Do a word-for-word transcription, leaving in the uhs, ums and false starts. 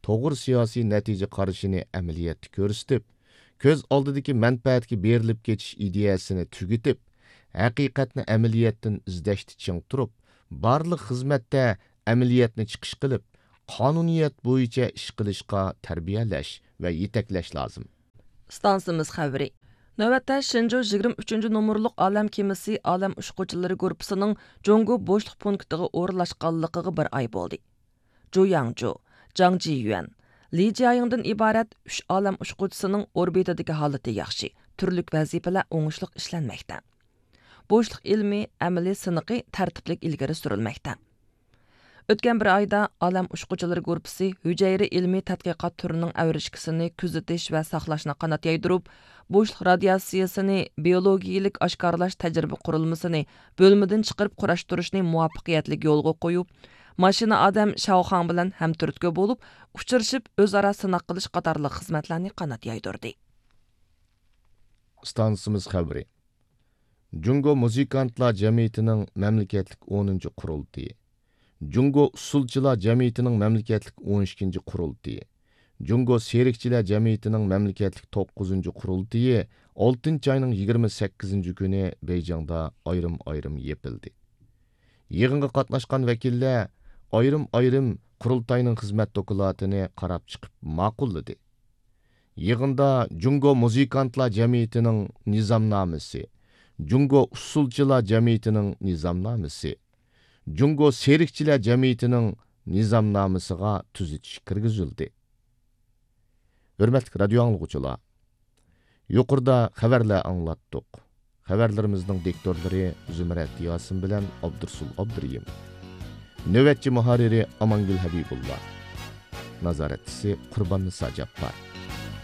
توغرا سىياسىي نەتىجە قارىشىنى ئەمەلىيەتتە كۆرسىتىپ، كۆز ئالدىدىكى مەنپەئەتكە بېرىلىپ كېتىش ئىدىيەسىنى تۈگىتىپ، ھەقىقەتنى ئەمەلىيەتتىن ئىزدەشتە چىڭ تۇرۇپ، بارلىق خىزمەتتە ئەمەلىيەتنى چىقىش قىلىپ، قانۇنىيەت بويىچە ئىش قىلىشقا تەربىيەلەش ۋە يېتەكلەش لازىم. ئىستانسىمىز خەۋىرى. نۆۋەتتە شېنجۇ يىگىرمە ئۈچىنچى نومۇرلۇق ئالەم كېمىسى ئالەم ئۇچقۇچىلىرى گۇرۇپپىسىنىڭ جۇڭگو بوشلۇق پونكىتىغا ئورۇنلاشقانلىقىغا بىر ئاي بولدى. جۇ ياڭجۇ، جاڭ جىيۈەن، لى جيايىڭدىن ئىبارەت ئۈچ ئالەم ئۇچقۇچىسىنىڭ ئوربىتىدىكى ھالىتى ياخشى، تۈرلۈك ۋەزىپىلەر ئوڭۇشلۇق ئىشلەنمەكتە. بوشلۇق ئىلمىي ئەمەلىي سىنىقى تەرتىپلىك ئىلگىرى سۈرۈلمەكتە. ئۆتكەن بىر ئايدا ئالەم ئۇچقۇچىلىرى گۇرۇپپىسى ھۈجەيرە ئىلمىي تەتقىقات تۈرىنىڭ ئەۋرىشكىسىنى كۆزىتىش ۋە ساقلاشنى قانات يايدۇرۇپ، بوشلۇق رادىياتسىيىسىنى بىيولوگىيىلىك ئاشكارىلاش تەجرىبە قۇرۇلمىسىنى بۆلمىدىن چىقىرىپ قۇراشتۇرۇشنى مۇۋەپپەقىيەتلىك يولغا قويۇپ، ماشىنا ئادەم شاۋخاڭ بىلەن ھەمتۈرتكە بولۇپ ئۇچرىشىپ، ئۆزئارا سىناق قىلىش قاتارلىق خىزمەتلەرنى قانات يايدۇردى. ئىستانسىمىز خەۋىرى. جۇڭگو مۇزىكانتلار جەمئىيىتىنىڭ مەملىكەتلىك ئونىنچى قۇرۇلتىيى، جۇڭگو ئۇسسۇلچىلار جەمئىيىتىنىڭ مەملىكەتلىك ئون ئىككىنچى قۇرۇلتىيى، جۇڭگو سېركچىلەر جەمئىيىتىنىڭ مەملىكەتلىك توققۇزىنچى قۇرۇلتىيى ئالتىنچى ئاينىڭ يىگىرمە سەككىزىنچى كۈنى بېيجىڭدا ئايرىم-ئايرىم يېپىلدى. يىغىنغا قاتناشقان ۋەكىللەر ئايرىم-ئايرىم قۇرۇلتاينىڭ خىزمەت دوكلاتىنى قاراپ چىقىپ ماقۇللىدى. يىغىندا جۇڭگو مۇزىكانتلار جەمئىيىتىنىڭ نىزامنامىسى، جۇڭگو ئۇسسۇلچىلار جەمئىيىتىنىڭ نىزامنامىسى، جۇڭگو سېركچىلەر جەمئىيىتىنىڭ نىزامنامىسىغا تۈزىتىش كىرگۈزۈلدى. ھۆرمەتلىك رادىيو ئاڭلىغۇچىلار، يۇقىرىدا خەۋەرلەر ئاڭلاتتۇق. خەۋەرلىرىمىزنىڭ دىكتورلىرى زۇمرەت ياسىن بىلەن ئابدۇرسۇل ئابدۇرېھىم. نۆۋەتچى مۇھەررىرى ئامانگۈل ھەبىبۇللا. نازارەتچىسى قۇرباننىسا جاپپار.